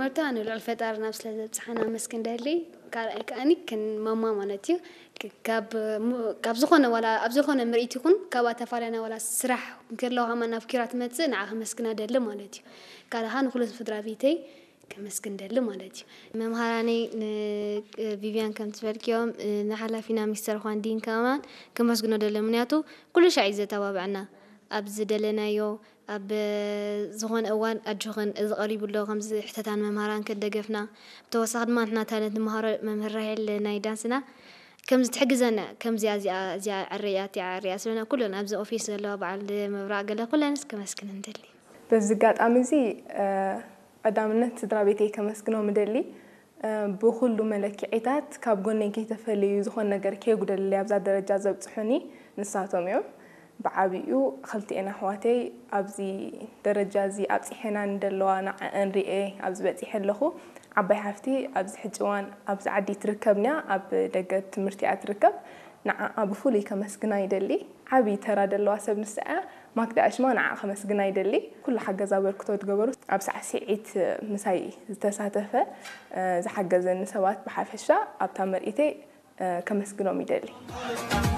መርታ ንልዑል ፈጣሪ ናብ ስለ ዘብጽሓና ኣመስግን ደሊ። ካልኣይ ከኣኒ ክን ማማ ማለት እዩ። ክ- ካብ ሙ- ካብ ዝኾነ ዋላ ኣብ ዝኾነ ምርኢት ይኹን ካብ ኣተፋለና ዋላ ስራሕ እንከለዋ ከማ ናብ ኪራ ትመጽእ ንዓ ከመስግና ደሊ ማለት እዩ። ካልኣ ንኩሉ ስድራ ቤተይ ከመስግን ደሊ ማለት እዩ። መምሃራነይ ንቪቪያን ከም ትፈልክዮም፣ ንሓላፊና ሚስተር ኳንዲን ከማን ከመስግኖ ደሊ፣ ምክንያቱ ኩሉ ሻዕ እዩ ዘተባብዐና። ኣብ ዝደለናዮ ኣብ ዝኾነ እዋን ኣጆኽን እዚ ቀሪቡ ኣሎ ከምዚ ሕተታን መምሃራን ከደገፍና፣ ብተወሳኺ ድማ ንሕና ታለንት ንመሃሮ መምህር ራሄል ናይ ዳንስና ከምዚ ትሕግዘና፣ ከምዚኣ እዚኣ እዚኣ ዕረያ እቲኣ ዕረያ ስለና ኩለን ኣብዚ ኦፊስ ዘለዋ በዓል መብራቕ ገለ ኩለንስ ከመስግን እንደሊ። በዚ ኣጋጣሚ እዚ ቀዳምነት ስድራ ቤተይ ከመስግኖም እደሊ። ብኹሉ መለክዒታት ካብ ጎነይ ከይተፈለዩ ዝኾነ ነገር ከየጉደልለይ ኣብዛ ደረጃ ዘብፅሑኒ ንሳቶም እዮም። ብዓብኡ ክልቲኤን ኣሕዋተይ ኣብዚ ደረጃ እዚ ኣብፂሐና ንደለዋ ንዓአን ርኤ ኣብዚ በፂሐ ኣለኹ። ዓባይ ሓፍቲ ኣብዚ ሕጂ እዋን ኣብዚ ዓዲ ትርከብንያ ኣብ ደገ ትምህርቲ እያ ትርከብ። ንዓኣ ብፍሉይ ከመስግና ይደሊ። ዓብዪ ተራ ደለዋ ሰብ ንሳ እያ። ማክዳ ኣሽማ ንዓ ከመስግና ይደሊ። ኩሉ ሓገዝ ኣበርክቶ ዝገበሩ ኣብ ሳዕስዒት ምሳይ ዝተሳተፈ ዝሓገዘኒ ሰባት ብሓፈሻ ኣብታ ምርኢተይ ከመስግኖም ይደሊ።